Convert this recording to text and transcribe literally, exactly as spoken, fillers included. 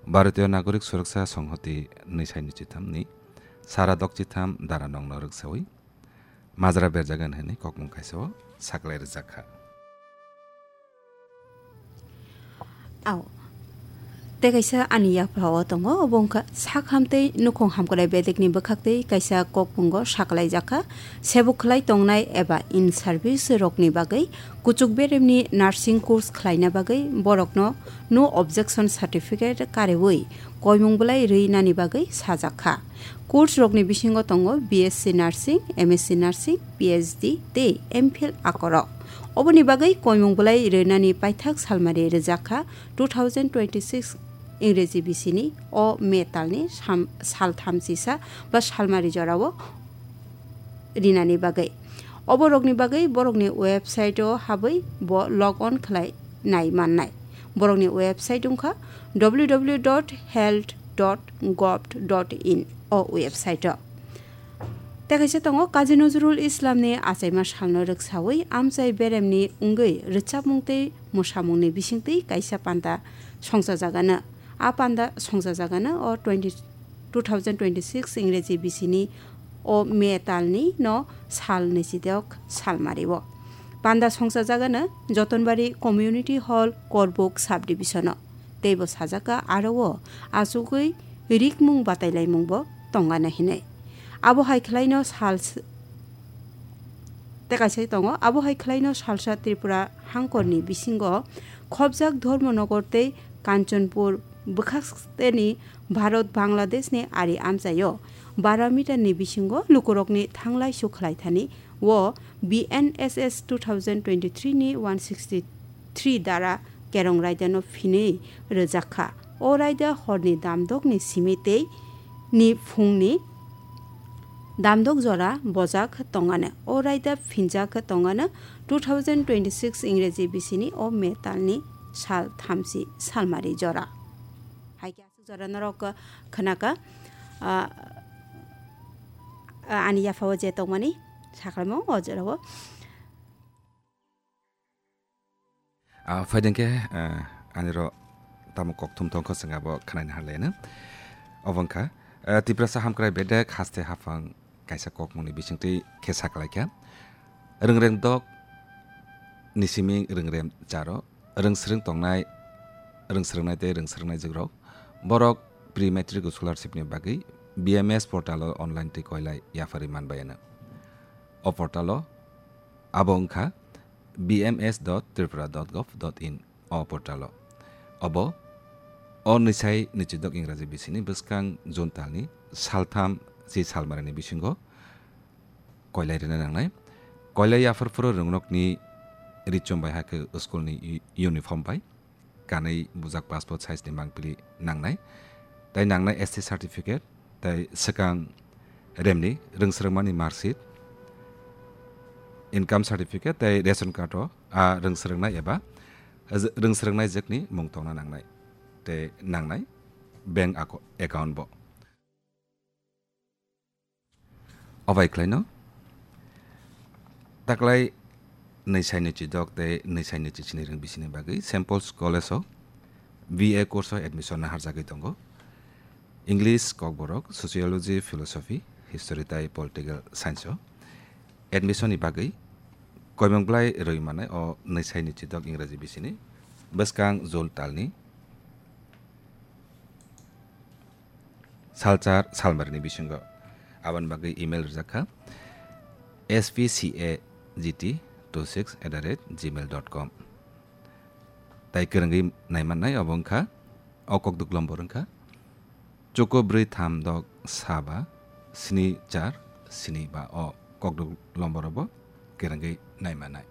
Bharatiya Nagorik Suraksa Songhoti nwi sai nwi chitham ni sara dok chitham dara nong no rwksawi majra berjagan hwnwi kokmung kaisa o saklai rwjak kha. Ao. Tei kaisa ani yaphao tongo, obo wngkha sak ham tei nukhung hamkrai bedekni bwkhak tei kaisa kokmungo sakalaijak kha. Sebuk khlai tongnai eba in service rokni bagwi kuchuk beremni nursing course khlaina bagwi borokno no objection certificate karewi koimung bwlai rwi nani bagwi sajak kha. Course rokni bisingo tongo B S C Nursing, M S C Nursing, P H D tei M Phil akorok. Oboni bagwi koimung bwlai rwnani paithak salmari rwjak kha two thousand twenty-six Ingreji bisini o May talni sam-, sal thamchisa ba salmari jorao rinani bagwi. Oborokni bagwi borokni website-o habwi bo log on khlai nai mannai. Borokni website wngkha W W W dot health dot gov dot in o website-o. Tei kaisa tongo, Kazi Nazrul Islamni achaima salno rwksawi amchai beremni wngwi rwchapmung tei mwsamungni bisingtwi kaisa panda songchajagano. A panda songchajagano o twenty, two thousand twenty-six Ingreji bisini o May talni no sal nwichidok salmario. Panda songchajagano Jotonbari Community Hall, Korbuk Subdivision-o. Teibo sajak kha aro o achugwi rikmung batailaimungbo tongana hinwi. Abo hai khlaino sal s-, tei kaisa tongo, abo hai khlaino salsa Tripura hangkorni bisingo khobjak Dharmanagar tei Kanchanpur bwkhaksteni Bharat Bangladeshni ari amchaio bara meter ni bisingo lukurokni thanglai sukhlai thani o B N S S two thousand twenty-three ni one sixty three dara kerong raidano phinwi rwjak kha. O raida horni damdokni simi tei ni phungni damdok jora bojak tongano. O raida phinjak tongano two thousand twenty-six Ingreji bisini o May talni sal thamchi salmari jora. Hai khe aswk jora norok khnaka, ah, ah, ani yaphao je tongmani saklaimo o jorao. Ah, phaideng khe, ah, ani ro tamo kokthum tongkho chwng abo khnaina harlaino. Obo wngkha, ah, Tiprasa hamkrai bedek haste haphang kaisa kokmungni bisingtwi khe saklaikha. Rwngreng dok ni simi rwngrem charo, rwngsrwng tongnai, rwngsrwngnai tei rwngsrwngnai jwkrok. Borok pre-matric scholarship ni bagwi B M S portal o online twi koilai yapharwi manbayano. O portal o abo wngkha B M S dot tripura dot gov dot in o portal o. Obo o nwisai nwichidok Ingraji bisini bwskang June talni saltham si salmarani bisingo koilai rina nangnai. Koilai yaphar phuru rwngnokni richum bai hakhe school ni u-, uniform bai kanwi bujak passport size ni mangpili nangnai. Tai nangnai S T certificate, tai swkang remni rwngsrwngmani marksheet, income certificate tai ration card o a rwngsrwngnai eba rwngsrwngnai jwkni mung tongna nangnai. Tei nangnai bank ako-, account bo. Obai khlaino taklai nwi sai nwi chidok tei nwi sai nwi chisini rwng bisini bagwi Saint Paul's College o B A course o admission naharjagwi tongo. English, Kokborok, Sociology, Philosophy, History tai Political Science o admission ni bagwi koimung bwlai rwi manai o nwi sai nwi chidok Ingraji bisini bwskang Jul talni salchar salmarini bisingo. Aboni bagwi email rijak kha S P C A G T two six at the rate gmail dot com. Tai kwrwngwi naimannai obo wngkha, o kokduk lombor wngkha chuku brwi tham dok sa ba sni char sni ba, o kokduk lombor obo kwrwngwi naimannai.